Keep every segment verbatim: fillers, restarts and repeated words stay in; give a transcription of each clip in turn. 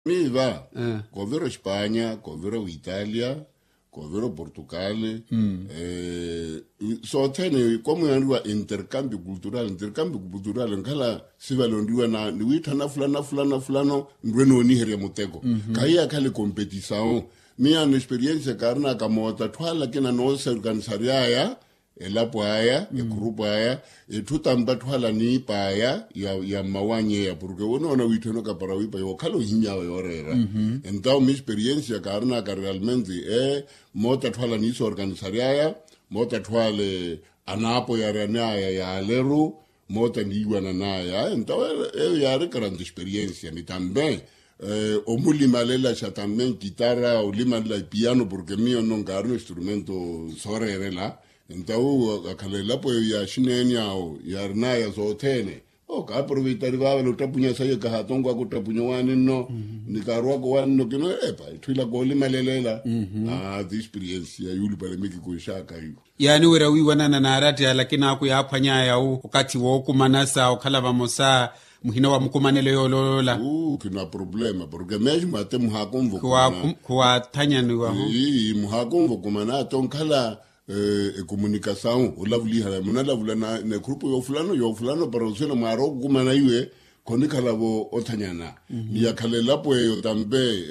Miiva, koovira ospanya, koovira oitalia, koovira oportugal. Sothene komuyanriwa intercambio cultural intercambio cultural nkhala sivale onriwa ni wiitthana fulana fulana fulano nrwe nooniherya muteko. Khahiya khale competisawu. Miyaano experiensia kaarinaka moota atthu ala akina noosorkanisary'aya elapo aya ekhurupu aya, etthu tampa atthu ala niip'aya ya mmawany'eya porke wonoona wiitthana okapara wiipa yookhala ohimmy'awe yooreera. Entawo misperiensia kaarinaka realmente, ee moota atthu ala niisorkanisary'aya, moota atthu ale anaapoyaryan'aya yaaleru, moota niiwanan'aya entawo eyo yaari karanta experiensia ni tampe omulimalelaxa tampe nkitara olimalela epiyano porke miyo nno nkaarina instrumento sooreerela. Entawo akhala elapo eyo ya xineeni awo yaarinaya sothene, okaaporoveitari vaavale ottapunya sayi kahatonkwaka ottapunya owaani nno ni kaarwaka owaani nno kino epa etthu ila koolimaleleela. Aa ti experiensi ya yuulupale mikikunxaka iwo. Yaani wira wiiwanana n'aratti alakini aku yaaphwany'aya wu okathi wookumanasa okhala vamosa muhina wa mukumanelo yooloola. Uu khina problema porke mesmo ate muhaakonva okumana. Khuwaathanyaniwahu. Ii muhaakonva okumana ate onkhala ekomunikasawu olavulihana munalavula n'ekhurupu yoofulano yoofulano para oswela mwaari okukumana iwe. Khonikhala-vo othanyana ni yakhala elapo eyo tampe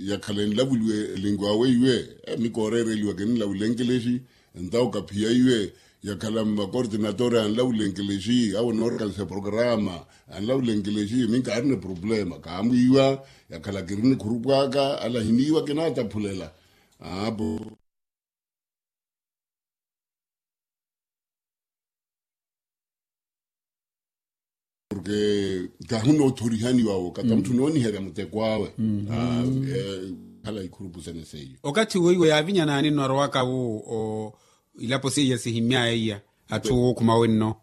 yakhala enlavuliwe elingu awe iwe. Mikooreereliwa kinilavula enkelexi entawo kaphiya iwe yakhala mmakortinatore anlavula enkelexi awo noorekanisa programa anlavula enkelexi minkaarina eproblema kaamwiiwa yakhala kiri nikhurupu aka ala hiniiwa kinaataphulela. Aapo porke kaahunoothorihaniwa wo kata mutthu nooniherya muteko awe. Khala ikhurupu sene seiyo okathi weiwo yaavinyanaani nno arowaka wu ilapo seiya sihimmy'aya iya atthu wookhuma wenno.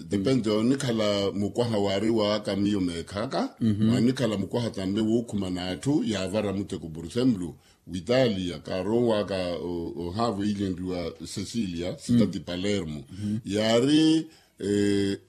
Depende onikhala mukwaha waari waaka miyo meekhaka. Wanikhala mukwaha tampe wookhuma n'atthu yaavara muteko por exemplo witalia kaarowaka ohaavo iilenriwa cecilia sitati palermo yaari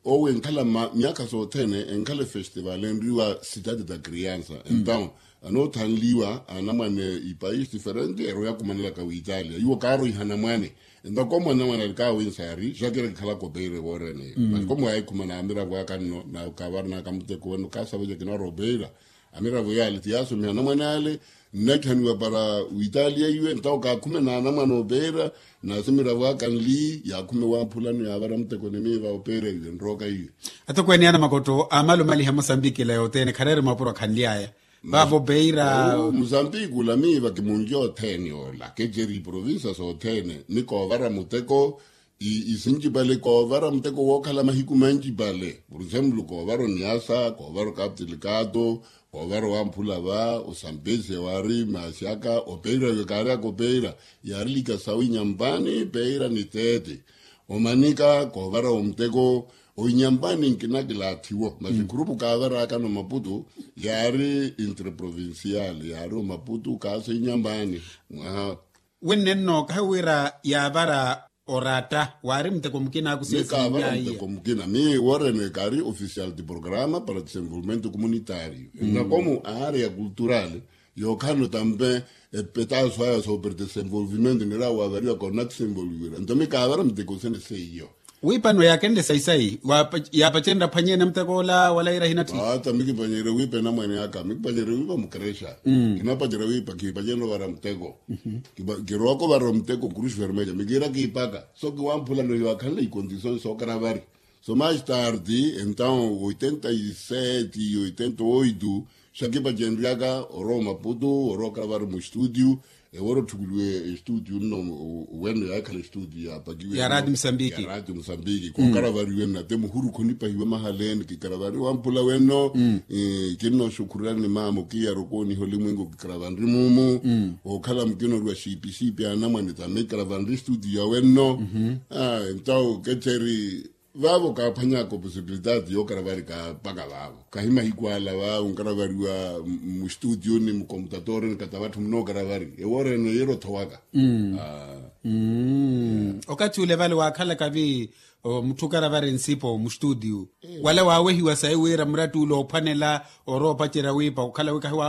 owo enkhala myaakha sothene enkhala efestival enriwa sitati ta criansa entawo anoothanliwa anamwane ipaisi diferente eroya kumanelaka witalia iwo kaaroiha anamwane. Entawo komu anamwane ali kaawinsa yaari xakira kikhalaka opeira ewoorene masi komu waayikhumana amiravo aka nno na kaavaranaka muteko weno kaasaveca kinaropeira. Amiravo yaale ti yaasomiha anamwane ale nnatthaniwa para witalia iwe entawo kaakhume na anamwane opeira. Nasi miravo aka nli yaakhume wamphulano yaavara muteko ni miiva opeira iwe nrooka iwe. Atokweene ya namakotto amalumaliha mosambiki ila yothene khareere mapuro akhanly'aya vaavo opeira. Mosambiki ula miiva kimunlya othene ola keceri iprovinsa sothene ni koovara muteko isincipale koovara muteko wookhala mahiku mancipale por exemplo koovara oniasa koovara okaptilikato koovara owamphula va osampesi ewaari maasi aka opeira iwe kaaryaka opeira yaari lika sawi nyampani peira ni teete omanika koovara omuteko oinyampani nkina kilaathiwo masi khurupu kaavaraka no maputu yaari interprovincial yaari omaputu kaasa inyampani. Mwaha winne nno kahi wira yaavara oratta waari muteko mukina akusiya sihimmyaiya. Muteko mukina mi worene kaari official ti programa para desenvolvimento comunitario nnakomu aarea cultural yookhalano tampe epetaso aya soopera desenvolvimento nira waavariwa kona desenvolvira nto mi kaavara muteko sene seiyo. Wiipano yaakenle sayi-sayi yaapacenrya aphwanyene muteko ola wala yira hinathi. Ata mikipanyeerya wiipa enamwane aka mikipanyeerya wiipa mukrexa kinapacerya wiipa kiipacenrya ovara muteko. Kirooko ovara muteko kruxi fermeja mikiira kiipaka so kiwamphulano hiwaakhanle ikondisoni sookaravari so mais tardi entawo oitenta e sete oitenta oito xakipacenryaka orowa omaputu orowa okaravari mustudio. Ewora otthukuliwe estudio nno weno yaakhala estudio yaapakiwe ya radio mosambiki kookaravariwe nna te muhuru khonipahiwa mahaleni kikaravariwa mphula weno. Kinnooxukhurani maamo kiyarokooniha olimwengu kikaravanri muumu ookhala mukinoriwa xiipi-xiipi anamwane tame kikaravanri estudio ya weno. Entawo kecheri vaavo kaaphwanyaka oposibilitati yookaravariwa mpaka vaavo kahi mahiku ala vaavo nkaravariwa mustudio ni mukomputatori ni kata vatthu munookaravariwa ewoorene yeera othowaka. Okathi ule vale waakhalaka vi mutthu okaravari nsipo mustudio wala waawehiwa sayi wira muratti ule oophwanela orowa opacerya wiipa okhala wi kahi wa